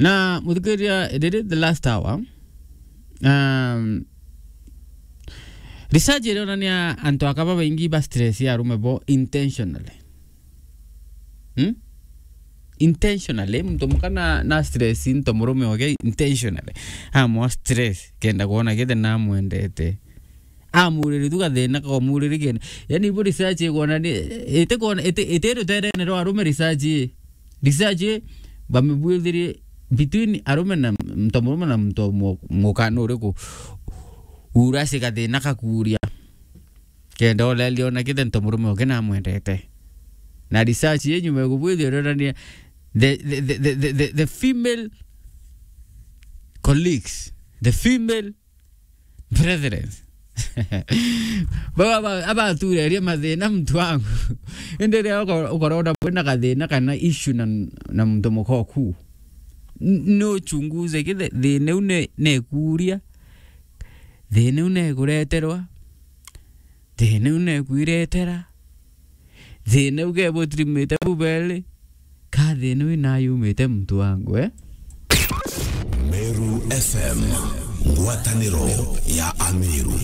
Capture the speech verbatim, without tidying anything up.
Na muthikiria, riri the last hour, um, research irionania antu aka babaingi ba stress ya arume bo intentionally. Hmm? Intentionally, muntu muka na, na stress into murume oge intentionally. Amwa stress, kenda kuona kithe namwendete. Amuriri tu gathina ka umuriri kenda. Yani, ibo research igona ni, ite kona, ite, ite ruterene rwa arume research ii. Research ii, bamibwithirie between arume na muntu murume na muntu mu-, mukana uriku urasi gathina kakuria. Kenda olelia ona kithe muntu murume oge namwendete. Na research ii nyuma ya kubwithia urionania the, the, the female colleagues, the female brethren. Baba, aba, abaturerie mathina muntu wangu. Indi riria uko-, ukorona bwina gathina kana issue na, na muntu mukoku. N-, no uchunguze kithe thina u ne, nekuria. Thina u nekureterwa. Thina u nekwiretera. Thina u kebutirimite bubeli. Ka thina u inayumite muntu wangu, eh? Meru F M, ngwataniro ya Ameru.